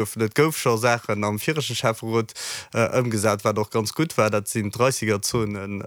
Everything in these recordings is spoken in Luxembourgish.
Goufen. Et gouf scho Saachen am viregte Schäfferot ëmgesat, wat och ganz gutt war. Dat sinn d'Dreissigerzonen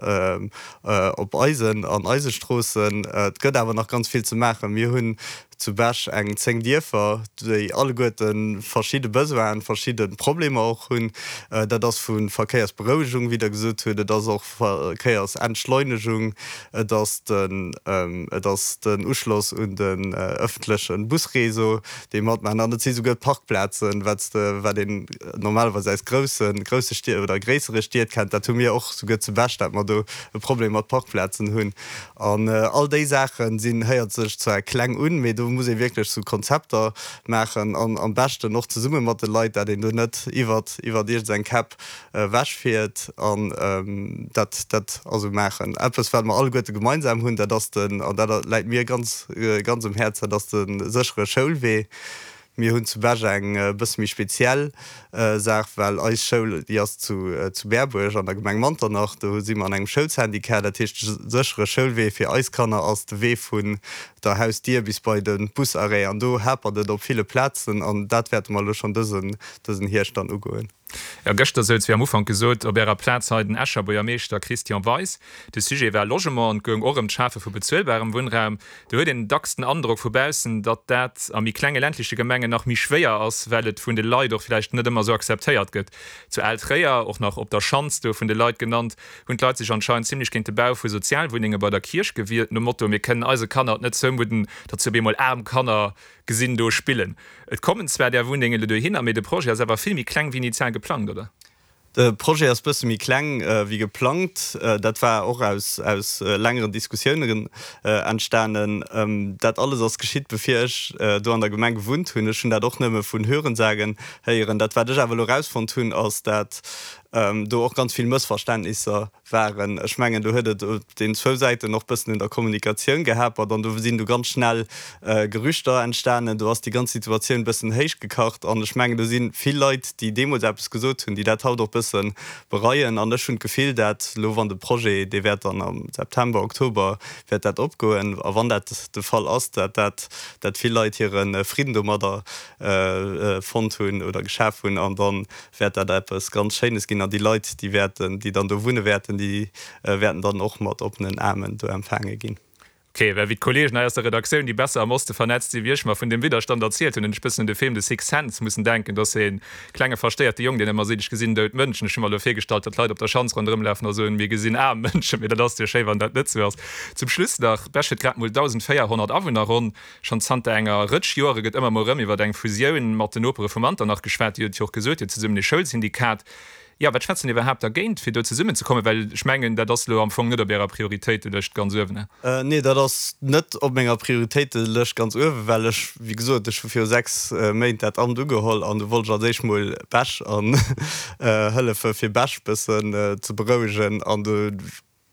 op eisen an eise Stroossen. Et gëtt awer nach ganz vill ze maachen. Mir hunn zu Bech eng 10 Dierfer, déi alleguerte verschidde Besoinen, verschidde Problemer och hunn. Dat ass vu Verkéiersberouegung, wéi Der gesot hutt, et ass och Verkéiersentschleunegung, et ass den, et ass den Uschloss un den ëffentleche Busréseau, déi matmaachen. An et si souguer d'Parkplazen, wat s de, wat een normalerweis aus groussen, grousse Stied oder gréissere Stied kennt. Dat hu mir och souguer zu Bech, dat mer do e Problem mat Parkplazen hunn. An all déi Saache sinn, héiert sech zwar kleng un, mee do muss ee wierklech sou Konzepter maachen an am beschten och zesumme mat de Leit, dat een do net iwwert, iwwert iergend eng Käpp ewechfiert an dat dat also maachen. Eppes wat mer alleguerte gemeinsam hunn, dat ass den, an dat läit mir ganz ganz um Häerz, dat ass de séchere Schoulwee. Mir hunn zu Bech eng e bësse méi speziell Saach, well eis Schoul, déi ass zu zu Berbuerg an der Gemeng Manternach, do si mer an engem Schoulsyndicat. Dat heescht, de séchere Schoulwee fir eis Kanner ass de Wee vun der Hausdier bis bei de Busarrêt an do hapert et op ville Plazen an dat wäerte mer elo schonn dësen dësen Hierscht dann ugoen. Jo, gëschter souz, wéi am Ufank gesot, op Ärer Plaz hei den Escher Buergermeeschter Christian Weis. De Sujet war Logement an et goung och ëm d'Schafe vu bezuelbarem Wunnraum. Do huet een dacks den Androck vu baussen, datt dat a méi klenge ländleche Gemengen nach méi schwéier ass, well et vun de Leit och vläicht net ëmmer esou akzeptéiert gëtt. Zu Al-Tréier, och nach op der Schanz do vun de Leit genannt, hunn d'Leit sech anscheinend zimlech géint de Bau vu Sozialwunnenge bei der Kierch gewiert, nom Motto, Mir kënnen eise Kanner et net zoumudden, datt se op eemol aarm Kanner gesinn do spillen. Et kommen zwar där Wunnengen elo dohinner, mee de Projet ass awer vill méi kleng wéi initial geplangt, oder? De Projet ass bësse méi kleng wéi geplangt. Dat war och aus aus längeren Diskussiounen entstanen. Dat alles ass geschitt bevir ech do an der Gemeng gewunnt hunn. Ech hunn dat och nëmme vun Hörensagen héieren. Dat wat ech awer elo erausfonnt hunn, ass dat do och ganz vill Mëssverständnisser waren. Ech mengen, do huet et op den zwou Säiten och bëssen un der Kommunikatioun gehapert an do sinn du ganz schnell Gerüchter entstanen. Do ass déi ganz Situatioun bëssen héichgekacht an ech mengen, do si vill Leit, déi deemools eppes gesot hunn, déi dat haut och bësse bereien. An ech hunn d'Gefill, dat elo, wann de Projet, dee wäert dann am September, Oktober wäert dat opgoen, a wann dat de Fall ass, dat dat, dat vill Leit hire Fridden domadder fonnt hunn oder geschaf hunn an dann wäert dat eppes ganz Schéines ginn an déi Leit, déi wäerten, déi dann do wunne wäerten, déi wäerten dann och mat oppenen Aarmen do empfaange ginn. Ok, well wéi d'Kollegen hei aus der Redaktioun, déi besser am Oste vernetzt si wéi ech, mer vun deem Widderstand erzielt hunn, hunn ech bëssen un de Film The Sixth Sense mussen denken. Do ass e klenge verstéierte Jong, deen ëmmer seet, ech gesinn dout Mënschen. Ech hu mer elo virgestallt, datt d'Leit op der Schanz ronderëm lafen a soen, mir gesinn aarm Mënschen, mee dat ass jo schéi, wann dat net sou ass. Zum Schluss nach, Bech huet grad mol 1.400 Awunner ronn. Schonn zanter enger Rëtsch Joere gëtt ëmmer mol erëm iwwer eng Fusioun mat den Nopere vu Manternach geschwat. Dir hutt jo och gesot, Dir hutt zesummen ee Schoulsyndikat. Jo, wat schwätzt denn iwwerhaapt dergéint, fir do zesummenzekommen? Well ech mengen, dat ass elo am Fong net op Ärer Prioritéitelëscht ganz uewen, ne? Nee, dat ass net op menger Prioritéitelëscht ganz uewen, well ech, wéi gesot, ech hu viru 6 Méint dat Amt ugeholl an du wollt ech als éischt mol Bech an hëllefe fir Bech bëssen ze berouegen an du,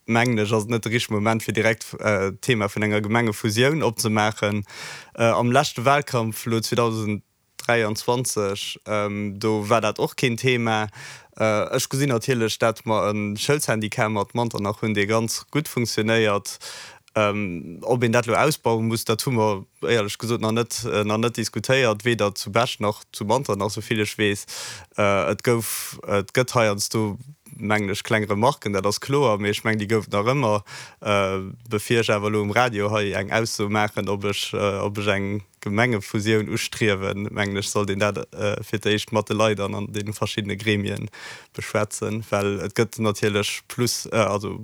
mengen ech, ass et net de richtege Moment, fir direkt d'Thema vun enger Gemengefusioun opzemaachen. Am leschte Wahlkampf elo 2023, do war dat och keen Thema. Ech gesinn natierlech, dat mer e Schoulsyndicat mat Manternach hunn, dee ganz gutt funktionéiert. Ob een dat elo ausbaue muss, dat hu mer éierlech gesot nach net, nach net diskutéiert, weder zu Bech nach zu Manternach, souvill ech weess. Et gouf, et gëtt heiansdo, mengen ech, kleng Remarken, dat ass kloer, mee ech mengen, déi gouf et nach ëmmer. Bevir ech awer elo um Radio hei eng Ausso maachen, ob ech, ob ech eng Gemengefusioun ustriewen, mengen ech, sollt een dat fir d'éischt mat de Leit an an deene verschiddene Gremie beschwätzen, well et gëtt natierlech Plus, also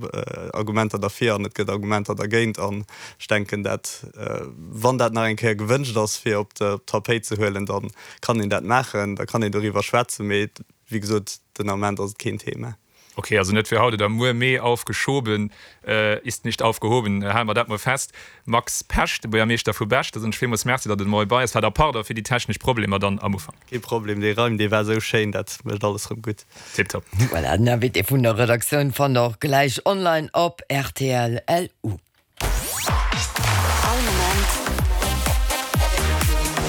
Argumenter derfir an et gëtt Argumenter dergéint. An ech denken, dat, wann dat nach eng Kéier gewënscht ass, fir op d'Tapéit ze huelen, da kann een dat maachen, da kann een doriwwer schwätzen, mee Wéi gesot, den Ament ass et keen Thema. Ok, also net fir haut oder muer, mee aufgeschoben ist nicht aufgehoben. Hale mer dat mol fest. Max Pesch, de Buergermeeschter vu Bech, da soen ech villmools Merci, datt Der de Moie bei eis waart a pardon fir déi technesch Problemer dann am Ufank. Kee Problem, dee Reim, dee war esou schéin, dat mécht alles rëm gutt. Tiptop. Voilà, den Invité vun der Redaktioun fannt der och gläich online op rtl. LU. All Moment.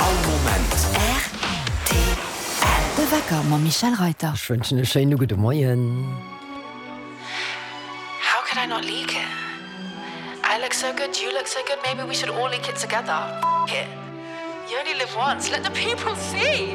All Moment. Rtl. De Wecker mam Michèle Reyter. Ech wënschen e schéine gudde Moien. How could I not leak it? I look so good, you look so good, maybe we should all leak it together. F it. You only live once, let the people see!